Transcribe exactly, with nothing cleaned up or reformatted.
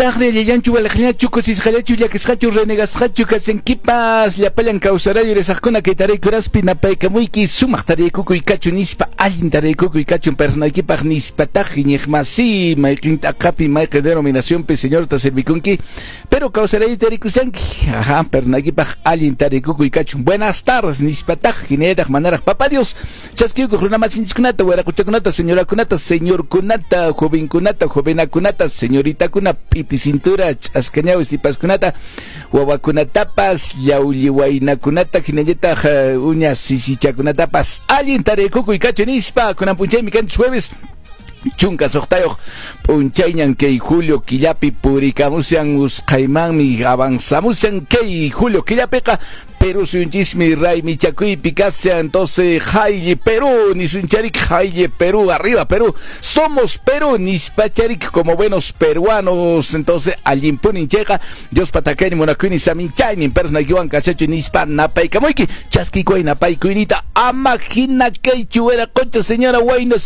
Imaynataqri, allillanchu, waliqllachu, kusisqallachu, llakisqachu, renegasqachu kashankipas? Llapallan kawsarayu rezaqkuna kay taraykuraspi napaykamuyki, sumaq taraykukuy kachu nispa, allin taraykukuy kachun pernaykipaq nispataq, iñiqmasi, mayqin t'aqapi, mayqin denominacionpi Señorta servikunki, pero kawsarayu tarikushanki, ajá, pernaykipaq allin taraykukuy kachun. Buenas tardes nispataq, hinallataq manaraq Papá Dios chaskiykuq runamasinchikkunata, waraquchakunata, señorakunata, señorkunata, jovenkunata, jovenakunata, señoritakuna, p'iti cintura, ch'askañawi sipaskunata, wawakunatapas, llawlli waynakunata, hinallataq uña sisichakunatapas, allin taraykukuy kachu nispa. Kunan p'unchaymi kanchis jueves chunka suqtayuq p'unchayñan kay julio killapi purikamushan, usqhaymanmi avanzamushan kay julio killapiqa. Perú suyunchismi raymichakuypi kashan, entonces Haile Perú nisuncharik, Haile Perú, arriba Perú, somos Perú nispacharik como buenos peruanos. Entonces allinpunin chayqa, Dios patakayni munakuynin saminchaynin personaykiwan kashachu nispa napaykamuyki, chaskikuy napaykuynita, ama hina kaychu, wiraqocha, señora wayna.